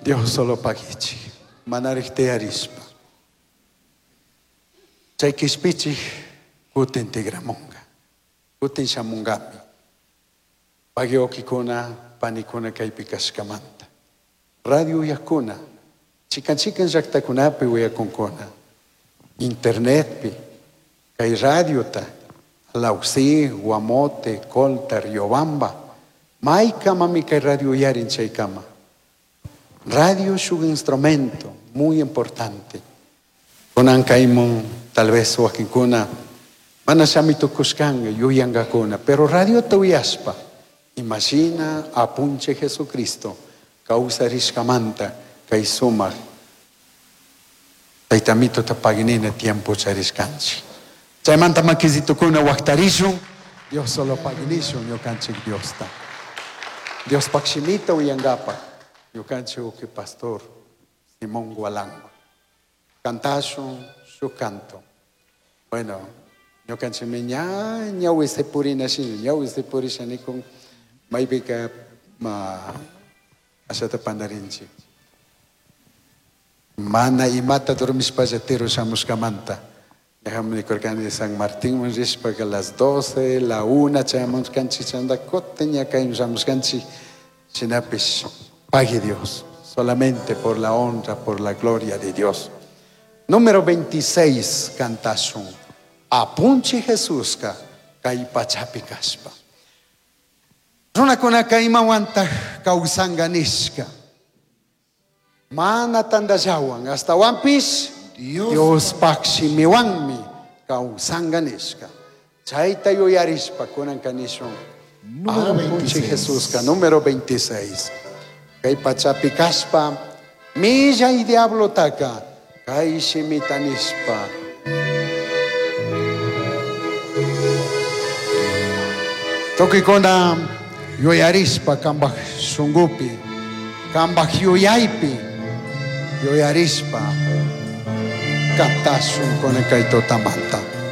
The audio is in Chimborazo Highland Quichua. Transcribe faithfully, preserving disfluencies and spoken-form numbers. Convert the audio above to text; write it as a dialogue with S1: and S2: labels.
S1: Dios solo pagichi. Manarij tiyarispa. Chay kishpichij kutin tigramunga. Kutin shamungami. Pagiokikuna, panikuna kaypi kashkamanta. Radio uyakuna, chikan chikan llaktakunapi uyakunkuna. Internetpi, kay radiota, Lausi, Guamote, Colta, Riobamba, maykamami kay radio uyarin chaykama. Radio es un instrumento muy importante. Kunan kaymun tal vez wakinkuna mana shami tukushkanga yuyankakuna, pero radiota uyashpa imashina apunche Jesucristo kawsarishkamanta kay sumak taytamitota paginina tiempo charishkanchik. Chaymanta makisitukuna waqtarishun, Dios solo paginishun ñukanchik Diosta. Dios pakshimita uyankapaq ñukanchik uki pastor Simón Gualango. Cantashun su canto. Bueno, ñukanchikmi ña ñawi purina shina, ñawi purisha nikun maypika ma ashata pandarinchik. Mana imata dormishpalla tiro shamushkamanta. Ñajami nikurkani San Martín rishpaka las doce, la una chayamushkanchik chanda kutin ña kayman shamushkanchik. Shinapish pague Dios, solamente por la honra, por la gloria de Dios. Número veintiséis, cantashun. Apunchi Jesuska kay pachapi kashpa. Runakunaka imawantaj kawsanka nishka. Mana tandallawan, hasta
S2: Dios,
S1: Dios pakshimiwanmi kawsanka nishka. Chayta yuyarishpa kunan kanishun.
S2: Número
S1: Apunchi
S2: veintiséis.
S1: Jesuska, número veintiséis. Kay pachapi kashpa, milla y diablo taka, kay shimita nishpa. Tukikuna yuyarishpa kambaj shungupi, kambaj yuyaypi, yuyarishpa, kantashun kuna kay tutamanta.